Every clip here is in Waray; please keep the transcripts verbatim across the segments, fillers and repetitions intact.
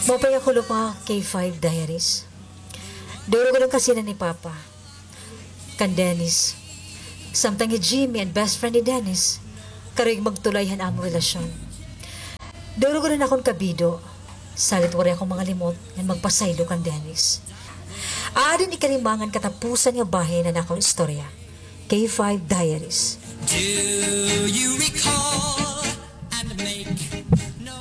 Maupay nga kulop, mga K five Diaries. Duro gud an kasinan ni Papa kan Dennis. Samtang hi Jimmy an best friend ni Dennis, karuyag magtulay han amon relasyon. Duro gud an akon kabido, salit waray ako mangalimot ngan magpasaylo kan Dennis. Aadi an ikalima ngan katapusan nga bahin han akon istorya, K five Diaries. Do you recall and make no...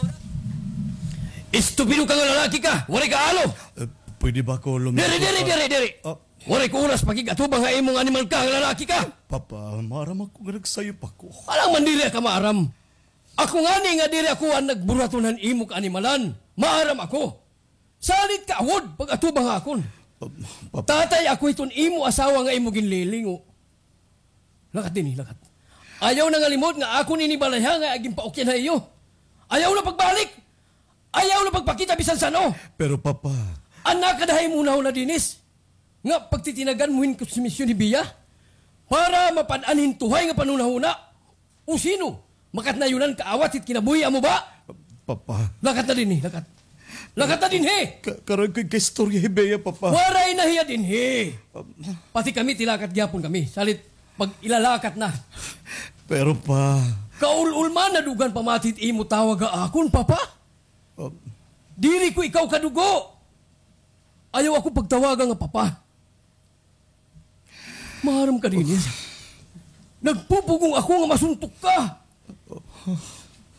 Estupido ka nga lalaki ka! Waray ka alo! Eh, pwede ba ako lumi-... Diri, diri, Papa? Diri, diri! Ah. Waray ko oras pakig-atubang ha imo nga animal ka nga lalaki ka! Papa, maaram ako nga nagsayop ako. Alangan man diri ka maaram. Ako ngani nga diri ako an nagburuhaton han imo kaanimalan. Maaram ako. Salit ka awod pag-atubang ha akon. Pa-, pa- Tatay ako hiton imo asawa nga imo ginlilingo. Lakat dinhi, lakat. Ayaw nangalimot nga akon ini balay ha nga ginpaukyan ha iyo. Ayaw na pagbalik. Ayaw na pagpakita bisan san-o. Pero, Papa. An nakada ha imo hunahuna, Dennis, nga pagtitinagan mo hin konsumisyon hi Bea para mapad-an hin tuhay nga panhunahuna. O sino? Makatnayonan kaawat hit kinabuhi amo ba? Papa. Lakat na dinhi, lakat. Lakat na dinhi! Ka-, karuyag ko ikaistorya hi Bea, Papa. Waray na hiya dinhi. Pati kami, tilakat gihapon kami. Salit, pag-ilalakat na. Pero, Pa. Kaul-ul man, nadugan pa mati it imo tawag ha akon, Papa. Diri ko ikaw kadugo. Ayaw ako pagtawaga nga Papa. Maaram ka dinhi. Nagpupugong ako nga masuntok ka.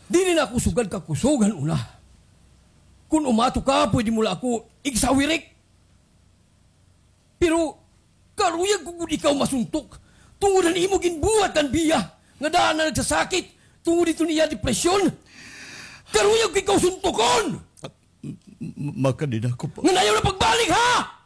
Diri na ako sugad ka kusog han una. Kon umato ka, pwede mo la ako igsawirik. Pero karuyag ko gud ikaw masuntok tungod han imo ginbuhat kan Bea nga daan na nagsasakit tungod hiton iya depresyon. Karuyag ko ikaw suntokon! M-, m-, makadi na ako, Pa. Ngan ayaw na pagbalik, ha?